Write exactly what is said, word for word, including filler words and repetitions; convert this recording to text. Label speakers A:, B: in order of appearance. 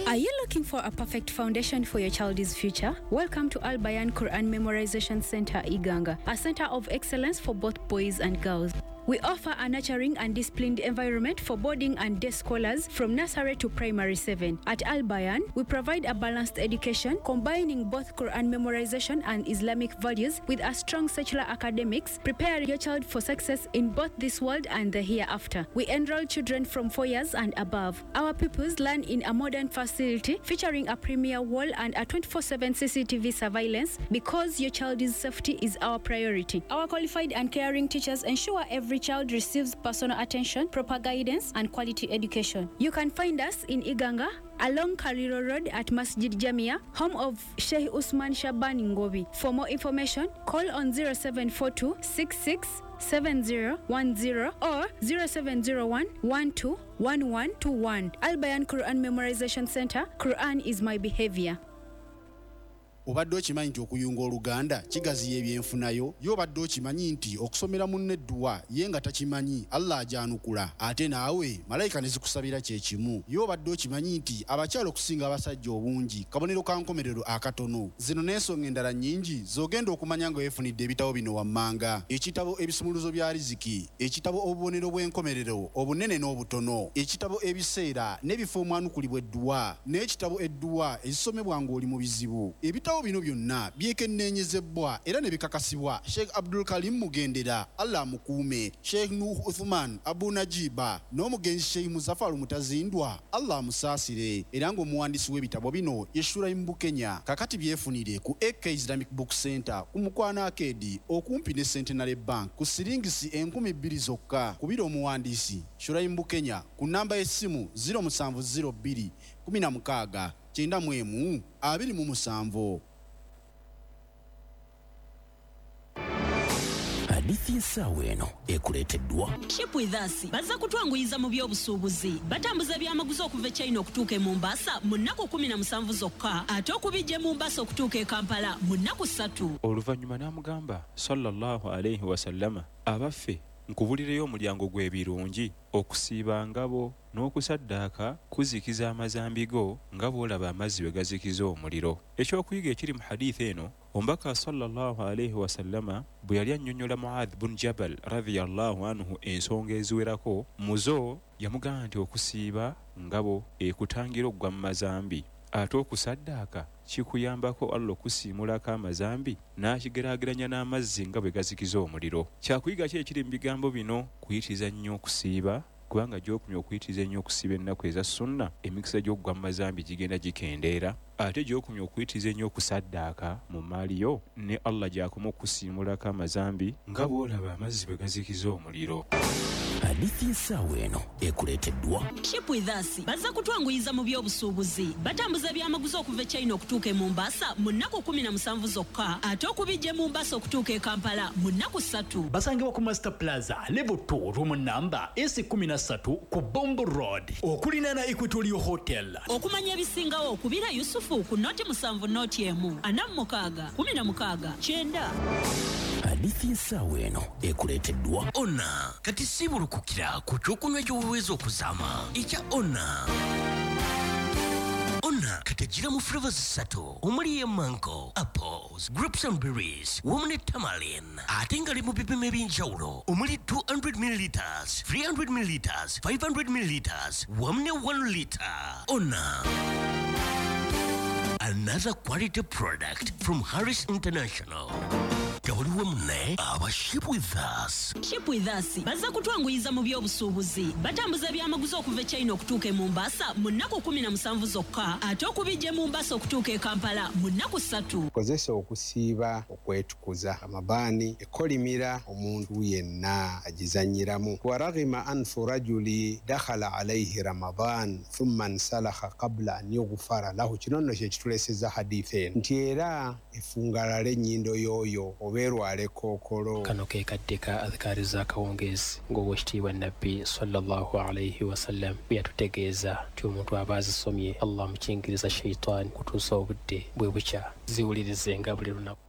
A: Are you looking for a perfect foundation for your child's future? Welcome to Al Bayan Quran Memorization Center, Iganga, a center of excellence for both boys and girls. We offer a nurturing and disciplined environment for boarding and day scholars from nursery to primary seven. At Al Bayan, we provide a balanced education combining both Quran memorization and Islamic values with a strong secular academics, prepare your child for success in both this world and the hereafter. We enroll children from four years and above. Our pupils learn in a modern facility featuring a premier wall and a twenty-four seven C C T V surveillance because your child's safety is our priority. Our qualified and caring teachers ensure every child receives personal attention, proper guidance, and quality education. You can find us in Iganga, along Kaliro Road at Masjid Jamia, home of Sheikh Usman Shaban Ngobi. For more information, call on zero seven four two, six six seven zero one zero or zero seven zero one, one two one one two one. Al Bayan Quran Memorization Center. Quran is my behavior.
B: Obadde okimanyi nti okuyunga Oluganda kigaziya ebyenfunayo? Ye obadde okimanyi nti okusomera munno edduwa ye nga takimanyi Allah agyanukula, ate naawe malayika ne zikusabira kye kimu? Ye obadde okimanyi nti abakyala okusinga abasajja obungi kabonero ka nkomerero akatono? Zino n'ensonga endala nnyingi z'ogenda okumanya nga weefunidde ebitabo bino wammanga: ekitabo Ebisumuluzo bya Riziki, ekitabo Obubonero bw'enkomerero obunene n'obutono, ekitabo Ebiseera n'ebifo omwanukulibwa edduwa, n'ekitabo Edduwa ezisomebwa ng'oli mu bizibu. Ebitabo bino byonna byekenneenyezebwa era ne bikakasibwa Sheikh Abdul Karim Mugendera, Allah amukuume, Sheikh Nuh Uthman Abu Najiba n'omugenzi Sheikh Muzaffar Mutazindwa, Allah amusaasire, era ng'omuwandiisi w'ebitabo bino ye Shuraim Bukenya. Kakati byefunire ku A K Islamic Book Center ku Mukwano Arcade okumpi ne Centenary Bank ku siringisi enkumi bbiri zokka. Kubira omuwandiisi Shuraim Bukenya ku namba y'essimu zero musanvu zero bbiri kumi na mukaaga kyenda mu emu abiri mu musanvu.
C: Hadithi y'essaawa eno ekuleeteddwa
D: Ship with us. Bazza kutwanguyiza mu by'obusuubuzi. Batambuza ebyamaguzi okuva e China okutuuka e Mombasa mu nnaku kumi na musanvu zokka, ate okubijja e Mombasa okutuuka e Kampala mu nnaku ssatu.
E: Oluvannyuma n'amugamba sallallahu alayhi wasallama, abaffe nkubulireyo omulyango gw'ebirungi, okusiiba ngabo n'okusaddaaka kuzikiza amazambi go nga bw'olaba amazzi bwe gazikiza omuliro. Ekyokuyiga ekiri mu hadithi eno, omubaka sallallahu alayhi wasallama bwe yali annyonnyola Muadh bun Jabal radhiyallahu anhu ensonga eziwerako, muzo yamugamba nti okusiiba ngabo ekutangira okugwa mu mazambi, ate okusaddaaka kikuyambako Allah okusiimulako amazambi n'akigeraageranya n'amazzi nga bwe gazikiza omuliro. Kyakuyiga ki ekiri mu bigambo bino? Kuyitiriza nnyo okusiiba, kubanga gy'okumya okuyitiriza ennyo okusiiba ennaku eza sunna, emikisa gy'okugwa mu mazambi gigenda gikendeera, ate gy'okumya okuyitiriza ennyo okusaddaaka mu mmaali yo, ne Allah gy'akoma okusiimulako amazambi nga bw'olaba amazzi bwe gazikiza omuliro.
C: Hadithi y'essaawa eno ekuleeteddwa
D: Ship with us. Bazza kutwanguyiza mu by'obusuubuzi. Batambuza ebyamaguzi okuva e China okutuuka e Mombasa mu nnaku kumi na musanvu zokka, ate okubijja e Mombasa okutuuka e Kampala mu nnaku ssatu.
F: Basangibwa ku Master Plaza level two room number S kumi na ssatu ku Bombo Road okulinaana Equatorial Hotel.
D: Okumanya ebisingawo kubira Yusufu ku noti musanvu noti emu ana mu mukaaga kumi na mukaaga kyenda.
C: Hadithi y'essaawa eno ekuleeteddwa
G: Ona. Kati siibulukukira ku kyokunywa ky'obuweezi okuzaama ekya Ona. Ona kati ejjira mu flavors ssatu omuli ye mango, apples, grapes and berries wamu ne tamarind, ate nga li mu bipimo eby'enjawulo omuli two hundred milliliters, three hundred milliliters, five hundred milliliters wamu ne one liter. Ona, another quality product from Harris International. Gawuliwe munne aba Ship with us.
D: Ship with us. Bazza kutwanguyiza mu by'obusuubuzi. Batambuza ebyamaguzi okuva e China okutuuka e Mombasa mu nnaku kumi na musanvu zokka, ate okubijja e Mombasa okutuuka e Kampala mu nnaku ssatu.
H: Kozesa okusiiba okwetukuza amabaani ekolimira omuntu yenna agizannyiramu. Wa raghima anfu rajuli dakhala alayhi Ramadan thumma nsalakha qabla an yughfara lahu. Kino nno kye kitulesezza hadithi eno nti era efungalala ennyindo y'oyo obeerwala ekkookolo.
I: Kano ke kadde ka adhikaari z'akawungeezi ng'owekitiibwa Nabbi sallallahu alayhi wasallam bwe yatutegeeza nti omuntu aba azisomye Allah amukingiriza shaitaani kutuusa obudde bwe bukya. Ziwulirizenga buli lunaku.